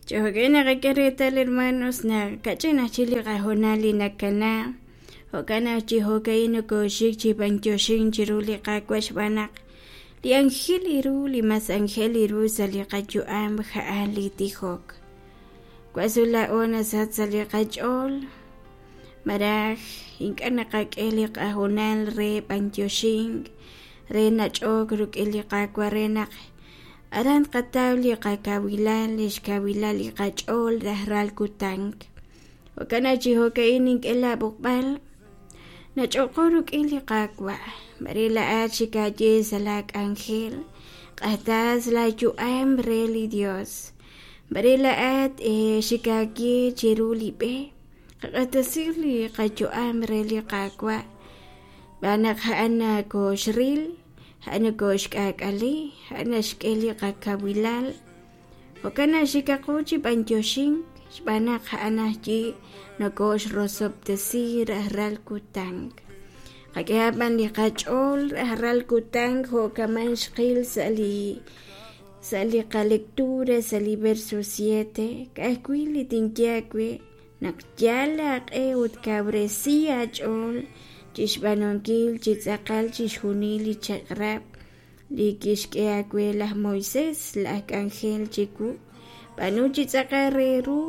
Chi jo'kan naqak'e reetal hermanos naq kach'in aj chik li qahoonal li nakana jo'kan naq chi jo'ka'in nokoxik chi b'antioxink chiru li Qaawa' xb'aan naq li anjel ru li mas anjel ru sa' li qayu'am ja'an li tijok. Wasu laa'o nasach sa' li qach'ool maraj ink'a' naqak'e li qahoonal re b'antioxink re nach'ook rik'in li Qaawa' re naq aran tqataw li qakawilal li xkawilal li qach'ool rajlal kutan. Jo'kan naq chi jo'ka'in nink'e laab'oqb'al nach'oqo rik'in li Qaawa' mare laa'at xikaaye sa' la k'anjel q'atas laayu'am re li Dios mare laa'at xikaaye chiru li b'e qaq'atasij li qayu'am re li Qaawa' xb'aan naq a'an nakoxril a'an nokoxk'aak'ali a'an naxk'e li qakawilal jo'kan naq xikaqo chi b'antioxink xb'aan naq a'an ajwi' nokoxrosob'tesi rajlal kutan. Qak'ehaq b'an li qach'ool rajlal kutan jo' kaman xqil sa' li qalectura sa' li verso 7 ka'ajwi' li tinye aawe naq yal aaq'e ut kawresi aach'ool chixb'aanunkil chi tz'aqal chixjunil li chaq'rab' li kixk'e aawe laj Moisés laj k'anjel chiwu b'aanu chi tz'aqal re ru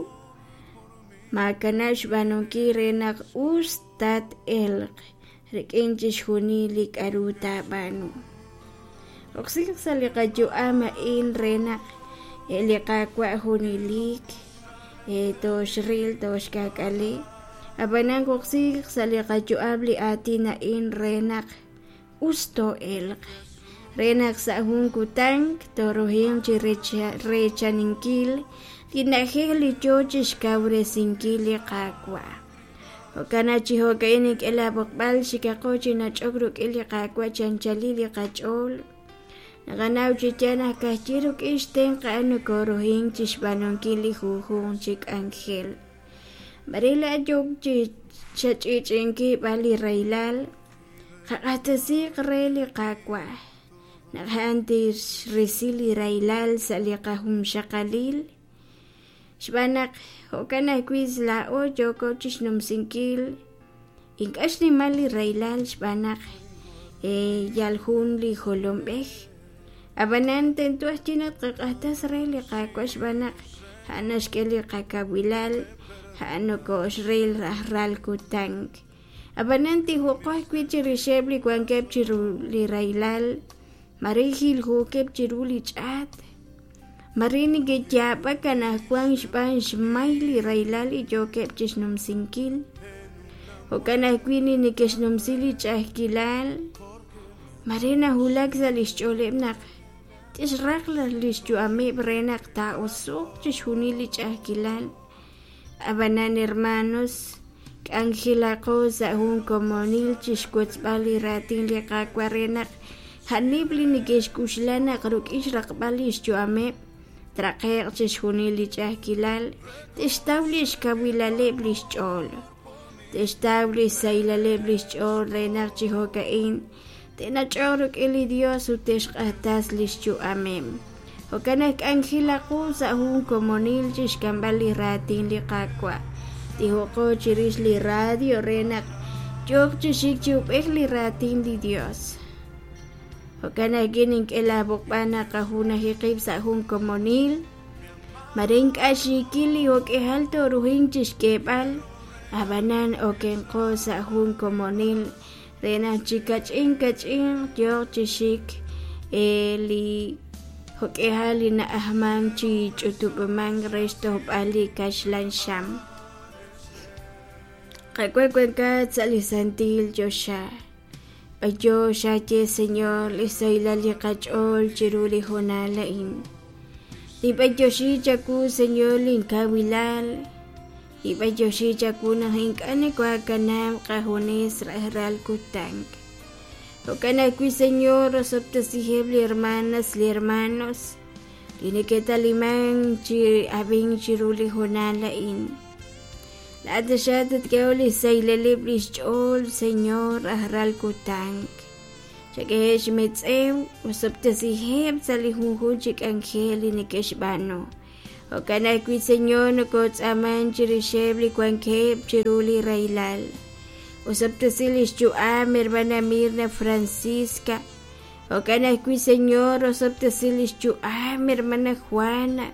maakanab' xb'aanunkil re naq us tat-elq rik'in chixjunil li k'a'ru taab'aanu. Oksiq sa' li qayu'am a'in re naq li Qaawa' junelik toxril toxk'aak'ali ab'anan oksiq sa' li qayu'am li aatin a'in re naq us too'elq re naq sa' jun kutan tooruhinq chi reechaninkil li na'ajej li yoo chixkawresinkil li Qaawa'. Jo'kan naq chi jo'ka'in nink'e laab'oqb'al xikaqo chi nach'ok rik'in li Qaawa' chi anchalil li qach'ool. Naqanaw chi yaal naq ka'ajwi' rik'in xtenq' a'an nokoruhink chixb'aanunkil li junjunq chi k'anjel. Mare laa'at yook chi xach'i'ch'i'inkil b'an li rahilal qaq'axtesiiq re li Qaawa' naq a'an tixrisi li rahilal sa' li qajunxaqalil xb'aan naq jo'kan ajwi' laa'o yooko chixnumsinkil ink'a' xnimal li rahilal xb'aan naq yal jun li jolomb'ej ab'anan tento ajwi' naq tqaq'axtas re li Qaawa' xb'aan naq a'an naxk'e li qakawilal a'an nokoxril rajlal kutan. Ab'anan tijoqo ajwi' chirixeb' li wankeb' chiru li rahilal mare jiljookeb' chiru li ch'aat mare neke'yaab'ak anaqwan xb'aan xmay li rahilal li yookeb' chixnumsinkil. Jo'kan ajwi' li neke'xnumsi li ch'a'ajkilal mare nawulak sa' li xch'ooleb' naq tixraq li xyu'ameb' re naq taa'oso'q chixjunil li ch'a'ajkilal. Ab'anan hermanos k'anjelaqo sa' jun komonil chixwotzb'al li raatin li Qaawa' re naq a'aneb' li neke'xk'uxla naq rik'in xraqb'al li xyu'ameb' traqe'q chixjunil li ch'a'ajkilal te'xtaw li xkawilaleb' li xch'ool te'xtaw li xsahilaleb' li xch'ool re naq chi jo'ka'in te'nach'oq rik'in li Dios ut te'xq'axtas li xyu'ameb'. Jo'kan naq k'anjelaqo sa' jun komonil chixk'amb'al li raatin li Qaawa'. Tijoqo chirix li radio re naq yooq chi xik chi ub'ej li raatin li Dios. Jo'kan ajwi' nink'e laab'oqb'al naq qajunaji qib' sa' jun komonil mare ink'a' xiikil li jo'k'ihal tooruhink chixk'eeb'al ab'anan okenqo sa' jun komonil re naq chi kach'in kach'in yooq chi xik li jo'k'ihal li na'ajman chi ch'utub'mank re xtojb'al li kaxlan xam. Qaawa' wankat sa' li santil choxa. B'ayo xaye Señor li xsahilal li qach'ool chiru li hoonal a'in. Ninb'antioxi chawu Señor linkawilal ninb'antioxi chawu naq ink'a' nokookanab' qajunes rajlal kutan. Jo'kan ajwi' Señor osob'tesiheb' li hermanas li hermanos li neke'taliman chi ab'ink chiru li hoonal a'in. Laa'at taxaq tatk'ehoq li xsahilaleb' li xch'ool Señor rajlal kutan. Chak'eheb' xmetz'ew osob'tesiheb' sa' li junjunq chi k'anjel li neke'xb'aanu. Jo'kan ajwi', Señor, nokotz'aaman chirixeb' li wankeb' chiru li rahilal. Osob'tesi lix yu'am hermana Mirna Francisca. Jo'kan ajwi', Señor, osob'tesi lix yu'am hermana Juana.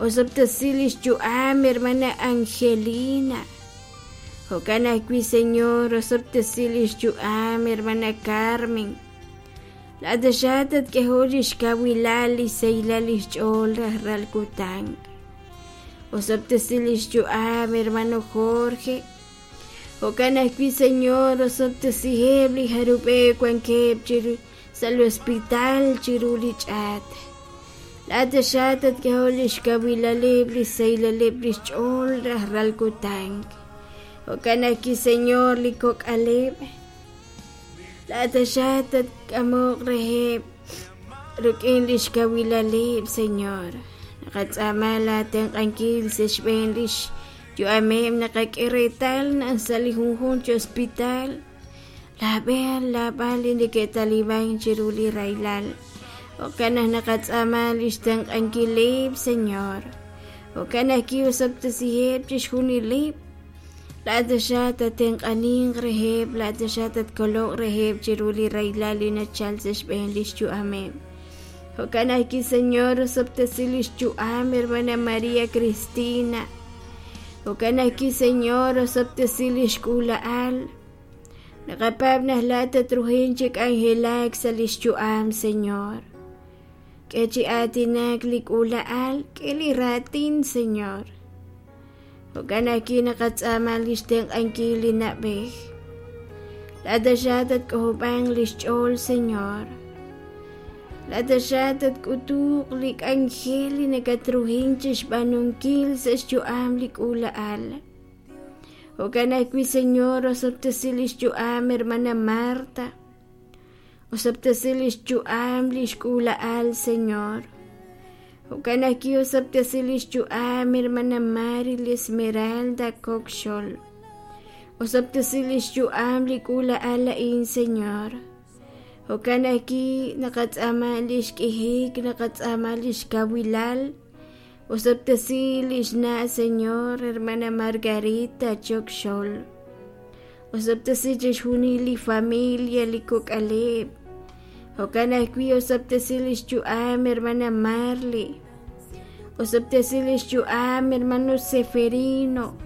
Osob'tesi lix yu'am hermana Angelina. Jo'kan ajwi', Señor, osob'tesi lix yu'am hermana Carmen. Laa'at taxaq tatk'ehoq lix kawilal, lix sahilal lix ch'ool rajlal kutan. Osob'tesi lix yu'am hermano Jorge. Jo'kan ajwi', Señor, osob'tesiheb' li jarub'eb' wankeb' chiru sa' li hospital chiru li ch'aat. Laa'at taxaq tatk'ehoq lix kawilaleb', lix sahilaleb' lix ch'ool rajlal kutan. Jo'kan ajwi', Señor, li kok'aleb'. Laa'at taxaq tatk'amoq reheb' rik'in lix kawilaleb', Señor. Naqatz'aama laa tenq'ankil sa' xb'een lix yu'ameb' naqak'e reetal naq sa' li junjunq chi hospital laab'e laab'al li neke'taliban chiru li rahilal. Jo'kan naq naqatz'aama lix tenq'ankileb', Señor. Jo'kan naq ki'osob'tesiheb' chixjunileb'. Laa'at taxaq tatenq'aninq reheb', laa'at taxaq tatkoloq reheb' chiru li rahilal li nachal sa' xb'een lix yu'ameb'. Jo'kan ajwi', Señor, osob'tesi lix yu'am hermana María Cristina. Jo'kan ajwi', Señor, osob'tesi lix k'uula'al. Naqapaab' naq laa'at tatruhin chi k'anjelak sa' lix yu'am, Señor. K'e chi aatinak li k'uula'al, k'e li raatin, Señor. Jo'kan ajwi' naqatz'aama lix tenq'ankil li na'b'ej. Laa'at taxaq tatk'ojob'anq lix ch'ool, Señor. Laa'at taxaq tatk'utuq li k'anjel li nakatruhin chixb'aanunkil sa' xyu'am li k'uula'al. Jo'kan ajwi', Señor, osob'tesi lix yu'am hermana Marta. Osob'tesi lix yu'am lix k'uula'al, Señor. Jo'kan ajwi' osob'tesi lix yu'am hermana Mari Esmeralda Coxol. Osob'tesi lix yu'am li k'uula'al a'in, Señor. Jo'kan ajwi' naqatz'aama lix k'ijik, naqatz'aama lix kawilal. Osob'tesi lix na', Señor, hermana Margarita Chokxol. Osob'tesi chixjunil li familia, li kok'aleb'. Jo'kan ajwi' osob'tesi lix yu'am hermana Marley. Osob'tesi lix yu'am hermano Seferino.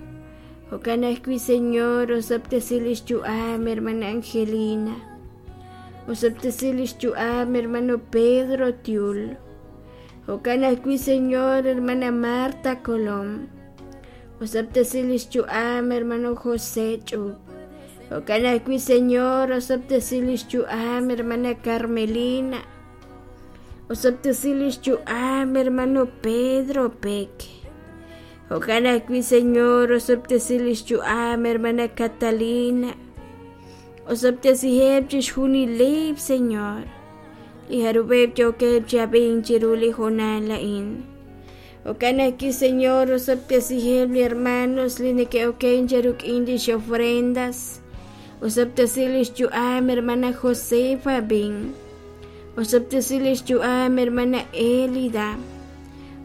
Jo'kan ajwi', Señor, osob'tesi lix yu'am hermana Angelina. Osob'tesi lix yu'am hermano Pedro Tiul. Jo'kan ajwi', Señor, hermana Marta Colom. Osob'tesi lix yu'am hermano José Ch'ub. Jo'kan ajwi', Señor, osob'tesi lix yu'am hermana Carmelina. Osob'tesi lix yu'am hermano Pedro Peck. Jo'kan ajwi', Señor, osob'tesi lix yu'am hermana Catalina. Osob'tesiheb' chixjunileb', Señor. Li jarub'eb' yookeb' chi ab'ink chiru li hoonal a'in. Jo'kan ajwi', Señor, osob'tesiheb' li hermanos li neke'oken cheruk'in lix ofrendas. Osob'tesi lix yu'am hermana Josefa Bin. Osob'tesi lix yu'am hermana Elida.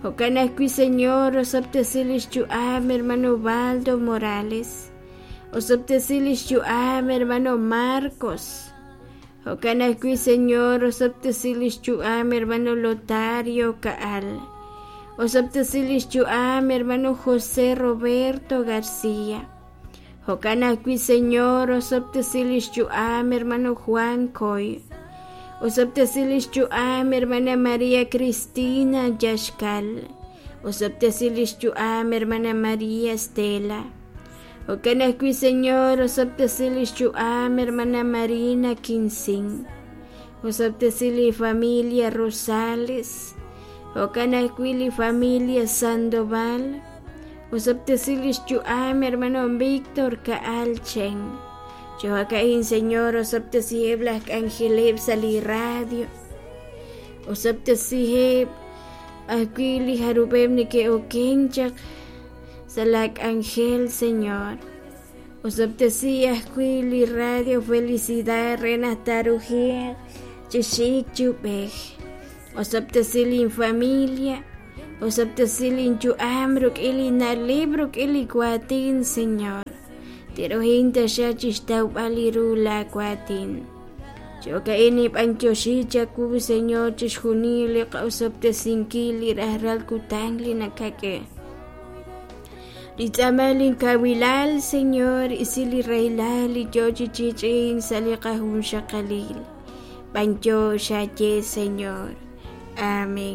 Jo'kan ajwi', Señor, osob'tesi lix yu'am hermano Baldo Morales. Osob'tesi lix yu'am hermano Marcos. Jo'kan ajwi', Señor, osob'tesi lix yu'am hermano Lotario Kaal. Osob'tesi lix yu'am hermano José Roberto García. Jo'kan ajwi', Señor, osob'tesi lix yu'am hermano Juan Coy. Osob'tesi lix yu'am hermana María Cristina Yaxcal. Osob'tesi lix yu'am hermana María Estela. Jo'kan ajwi', Señor, osob'tesi lix yu'am hermana Marina Quincín. Osob'tesi li familia Rosales. Jo'kan ajwi' li familia Sandoval. Osob'tesi lix yu'am hermano Víctor Kaal Chen. Jo'ka'in, Señor, osob'tesiheb' laj k'anjeleb' sa' li radio. Osob'tesiheb' ajwi' li jarub'eb' neke'oken chaq sa' la k'anjel, Señor. Osob'tesi ajwi' li radio Felicidad re naq taarujiq chi xik chi ub'ej. Osob'tesi lin familia. Osob'tesi linyu'am rik'in li na'leb', rik'in li waatin, Señor. Tinruhin taxaq chixtawb'al ru laawaatin. Chi jo'ka'in ninb'anyoxi chawu, Señor, chixjunil li qa'osob'tesinkil li rajlal kutan li nakak'e. Li tz'aamal linkawilal, Señor, isi li rahilal li yo chi chich'in sa' li qajunxaqalil. B'anyox xaye, Señor. Amén.